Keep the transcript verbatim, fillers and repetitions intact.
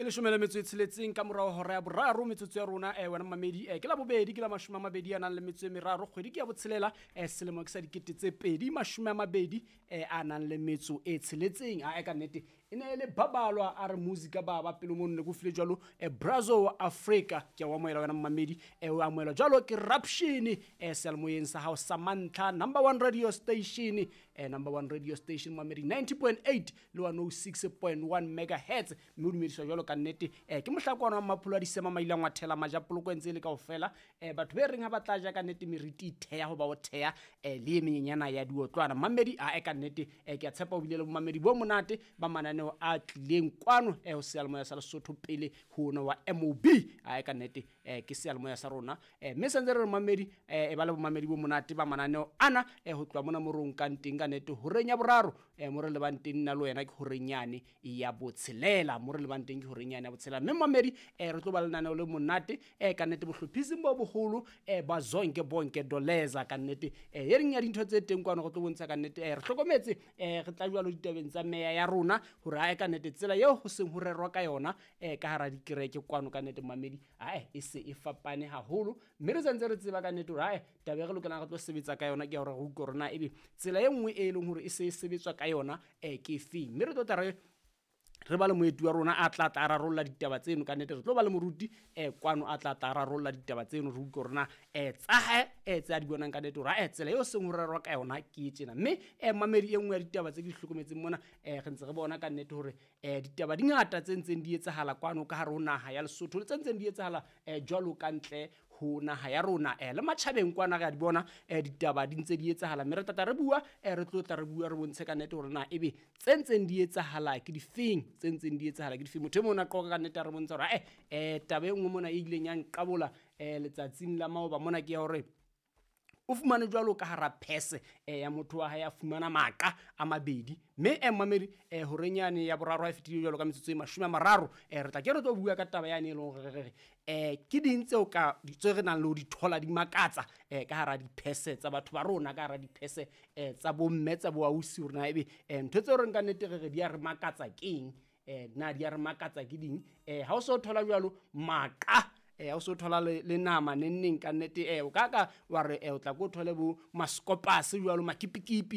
Leshome le metso e tsheletseng ka morao hora ya boraro metsotso ya rona eh, wena mamedi eh, ke la bobedi ke la mashome a mabedi a nang le metso e meraro kgwedi ke ya botshelela eh, selemo ke sa dikete tse pedi mashome a mabedi eh, a nang le metso e tsheletseng a ka nnete e ne e le babalwa a re musica baba pelo mono ne ko file jwalo eh, brazo wa Africa ke a o amohela wena mamedi eh, o amohelwa jwalo ke Raption eh, seyalemoyeng sa hao sa mantlha number one radio station eh, number one radio station mamedi ninety point eight le one oh six point one megahertz mme o dumediswa jwalo ka nnete eh, ke mohlakwana wa mapholo a disema maileng wa thela majapoloko ntse e le kaofela eh, batho be reng ha ba tla ja ka nnete meriti e theha hoba o theha eh, le e menyenyana ya diotlwana mamedi a e ka nnete eh, ke a tshepa o bile le bomamedi bo monate ba mananeo a tlileng kwano eh, ho seyalemoya sa Lesotho pele ho ona wa M O B a e ka nnete eh, ke seyalemoya sa rona eh, mme santse re re mamedi eh, e ba le bomamedi bo monate ba mananeo ana eh, ho tloha mona mo re o nkang teng ka nnete horeng ya boraro eh, mo re lebang teng nna le wena ke horeng yane ya botshelela mo re lebang teng ke horeng yane ya botshelela mme mamedi eh, re tlo ba lenaneo le monate eh, ka nnete bohlophising bo boholo eh, ba Zonke Bonke Doleza ka nnete eh, e reng ya dintho tse teng kwano re tlo bontsha ka nnete eh, re hlokometse eh, re tla jwalo ditabeng tsa meya ya rona hore ae ka nnete tsela eo ho seng ho rerwa ka yona eh, ka hara dikereke kwano ka nnete mamedi ae e se e fapane haholo mme re santse re tseba ka nnete hore ae taba e re lokelang re tlo sebetsa ka yona ke ya hore re utlwe hore na ebe tsela e nngwe e leng hore e se e sebetswa ka yona eh, ke efeng mme re tlo tla re re ba le moeti wa rona a tla tla a rarolla ditaba tseno ka nnete re tlo ba le moruti eh, kwano a tla tla a rarolla ditaba tseno re utlwe hore na eh, tsa hae eh, tse a di bonang ka nnete hore eh, tsela eo seng ho rerwa ka yona ke e tjena mme eh, mamedi e nngwe ya ditaba tse ke di hlokometseng mona eh, re ntse re bona ka nnete hore eh, ditaba di ngata tse ntseng di etsahala kwano ka hare ho naha ya Lesotho le tse ntseng di etsahala eh, jwalo ka ntle ho naha ya rona eh, le matjhabeng kwana re a di bona eh, ditaba di ntse di etsahala mme re tla tla re bua eh, re tlo tla re bua re bontshe ka nnete hore na ebe tse ntseng di etsahala ke difeng tse ntseng di etsahala ke difeng motho e mong a qoqa ka nnete a re bontsha hore eh, eh, taba e nngwe mona e ileng ya nqabola eh, letsatsing la maoba mona ke ya hore o fumane jwalo ka hara phese eh, ya motho wa hae a fumana maqa a mabedi mme eh, mamedi eh, horeng yane ya boraro ha e fetile jwalo ka metsotso e mashome a mararo eh, re tla ke re tlo bua ka taba yane e leng hore re re eh, ke ding tseo ka tse re nang le ho di thola di makatsa eh, ka hara diphese tsa batho ba rona ka hara diphese eh, tsa bomme tsa boausi hore na ebe eh, ntho tseo re nka nnete re re di a re makatsa keng eh, na di a re makatsa ke ding eh, ha o so thola jwalo maqa eh, ha o so thola le, le nama nenneng ka nnete eh, o ka ka wa re eh, o tla ko thole bo maskopase jwalo makipikipi